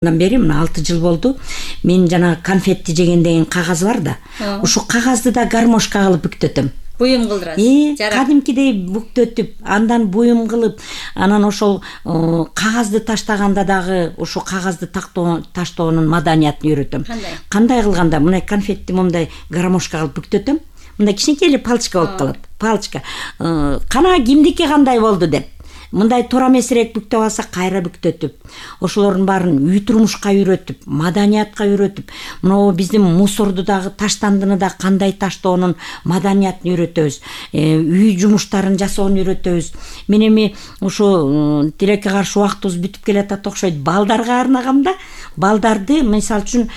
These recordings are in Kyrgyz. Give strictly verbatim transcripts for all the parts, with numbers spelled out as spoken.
Андан бери мына алты жыл болду. Мен жана конфетти жеген деген кагаз бар да. Ушу кагазды да гармошка кылып бүктөтөм. Буюм кылдырасыз. Э, кадимкидей бүктөтүп, андан буюм кылып, анан ошол кагазды таштаганда дагы ушу кагазды таштоонун маданиятын үйрөтөм. Кандай? Кандай кылганда мындай конфетти мындай гармошка кылып бүктөтөм. Мындай кичинекей эле палочка болуп калат. Палочка. Кана кимдики кандай болду деп. Мындай туура эмесирээк бүктөп алса кайра бүктөтүп, ошолордун баарын үй турмушка үйрөтүп, маданиятка үйрөтүп, мына биздин мусорду дагы таштандыны да кандай таштоонун маданиятын үйрөтөбүз. Үй жумуштарын жасоонун үйрөтөбүз. Мен эми ушу тилекке каршы убактыбыз бүтүп келатат окшойт. Балдарга арнагам да. Балдарды, мисалы үчүн,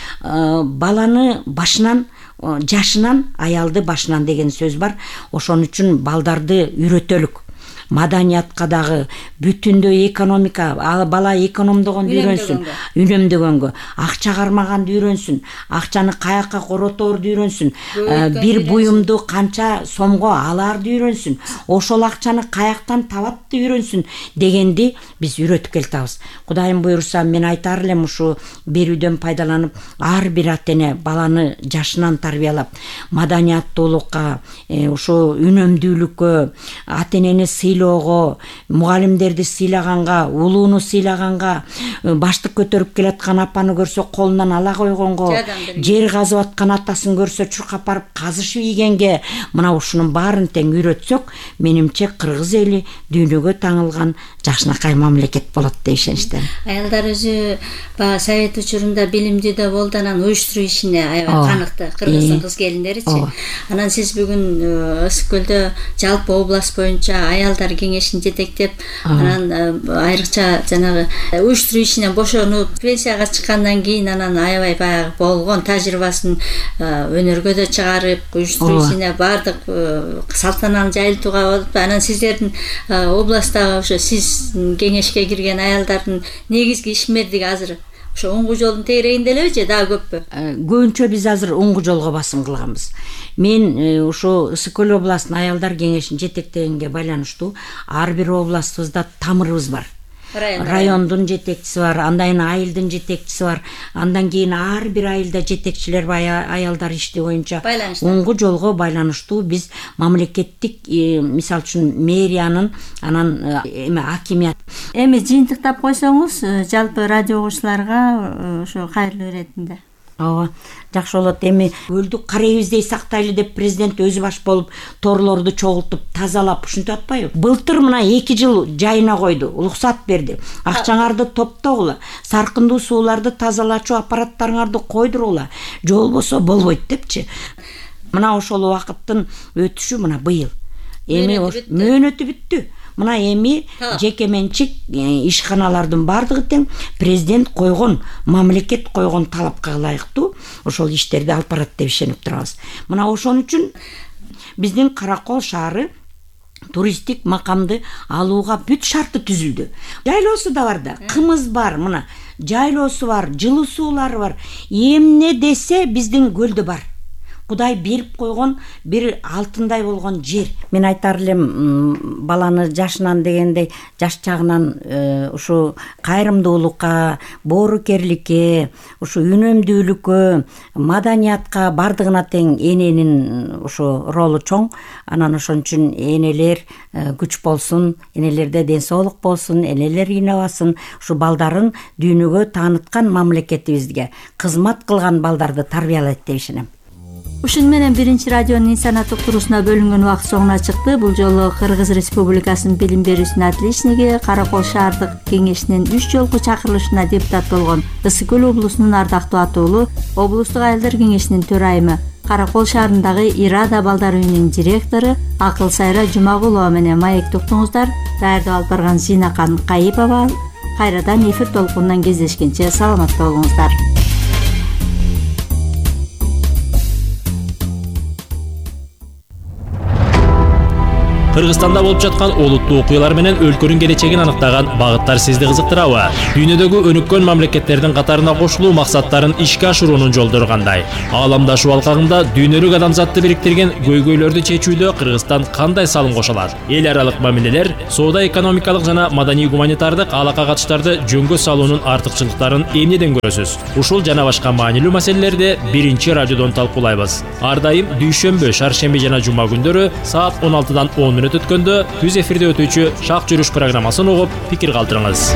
баланы башынан жашынан аялды башынан деген сөз бар. Ошон үчүн балдарды үйрөтөлүк. Маданиятка дагы бүтүндөй экономика, бала экономдогонду үйрөнсүн, үнөмдөгөнгө, акча кармаганды үйрөнсүн, акчаны каяка короторду үйрөнсүн, бир буюмду канча сомго аларды үйрөнсүн, ошол акчаны каяктан табатты үйрөнсүн дегенди биз үйрөтүп келатабыз. Кудайым буйруса, мен айтар элем ушу берүүдөн пайдаланып, ар бир ата-эне баланы жашынан тарбиялап, маданияттуулукка, ушу үнөмдүүлүккө, ата-энени сыйлоого, мугалимдерди сыйлаганга, улууну сыйлаганга, баштык көтөрүп келаткан апаны көрсө колунан ала койгонго, жер казып аткан атасын көрсө чуркап барып казышып ийгенге, мына ушунун баарын тең үйрөтсөк, менимче кыргыз эли дүйнөгө таңылган жакшынакай мамлекет болот деп ишеничтен. Аялдар өзү баягы совет учурунда билимдүү да болду, анан уюштуруу ишине аябай каныкты, кыргыздын кыз келиндеричи. Анан сиз бүгүн Ысык көлдө жалпы область боюнча аялдар кеңешин жетектеп, анан айрыкча жанагы уюштуруу ишинен бошонуп, пенсияга чыккандан кийин анан аябай баягы болгон тажрыйбасын өнөргө да чыгарып, уюштуруу ишине бардык салтананы жайылтууга болуп, анан сиздердин областтагы ошо сиз кеңешке кирген аялдардын негизги ишмердиги азыр ошо оңгу жолдун тегерегинде элеби же дагы көппү? Көбүнчө биз азыр оңгу жолго басым кылганбыз. Мен ошо Ысык көл областынын аялдар кеңешин жетектегенге байланыштуу ар бир областыбызда тамырыбыз бар. Райондун жетекчиси бар, андан айылдын жетекчиси бар, андан кийин ар бир айылда жетекчилер бар, аялдар ишти боюнча оңгу жолго байланыштуу биз мамлекеттик, мисалы үчүн мэриянын, анан эме акимият. Эми жыйынтыктап койсоңуз, жалпы радио угуучуларга ошо кайрылуу иретинде. Ооба, жакшы болот. Эми көлдү карайбиздей сактайлы деп президент өзү баш болуп торлорду чогултуп, тазалап, ушинтип атпайбы? Былтыр мына эки жыл жайына койду, уруксат берди. Акчаңарды топтогула, саркындуу сууларды тазалачу аппараттарыңарды койдурула, же болбосо болбойт депчи. Мына ошол убакыттын өтүшү мына быйыл. Эми мөөнөтү бүттү. Мына эми жеке менчик ишканалардын бардыгы тең президент койгон, мамлекет койгон талапка ылайыктуу ошол иштерди алып барат деп ишенип турабыз. Мына ошон үчүн биздин Каракол шаары туристтик макамды алууга бүт шарты түзүлдү. Жайлоосу да бар да, кымыз бар, мына жайлоосу бар, жылуу суулары бар. Эмне десе биздин көлдө бар. Кудай берип койгон бир алтындай болгон жер. Мен айтар элем, баланы жашынан дегендей, жаш чагынан ушу кайрымдуулукка, боорукерликке, ушу үнөмдүүлүккө, маданиятка бардыгына тең эненин ушу ролу чоң. Анан ошон үчүн энелер күч болсун, энелерде ден соолук болсун, энелер ыйнабасын, ушу балдарын дүйнөгө тааныткан мамлекетибизге кызмат кылган балдарды тарбиялайт деп ишенем. Ушун менен биринчи радионун инсанат уктуруусуна бөлүнгөн убакыт соңуна чыкты. Бул жолу Кыргыз Республикасынын билим берүүсүнүн отличниги, Каракол шаардык кеңешинин үч жолку чакырылышына депутат болгон Ысык көл облусунун ардактуу атуулу, облустук аялдар кеңешинин төрайымы, Каракол шаарындагы Ирада балдар үйүнүн директору Акыл Сайра Жумагулова менен маекти уктуңуздар. Даярдап алып барган Зинакан Кайыпова. Кайрадан эфир толкунунан кездешкенче саламатта болуңуздар. Кыргызстанда болуп жаткан олуттуу окуялар менен өлкөнүн келечегин аныктаган багыттар сизди кызыктырабы? Дүйнөдөгү өнүккөн мамлекеттердин катарына кошулуу максаттарын ишке ашыруунун жолдору кандай? Ааламдашуу алкагында дүйнөлүк адамзатты бириктирген көйгөйлөрдү чечүүдө Кыргызстан кандай салым кошо алат? Эл аралык мамилелер, соода экономикалык жана маданий гуманитардык алака катыштарды жөнгө салуунун артыкчылыктарын эмнеден көрөсүз? Ушул жана башка маанилүү маселелерди биринчи радиодон талкуулайбыз. Ар дайым дүйшөмбү, шаршемби жана жума күндөрү саат он алтыдан он мүнөт өткөндө түз эфирде өтүүчү Шак жүрүш программасын угуп, пикир калтырыңыз.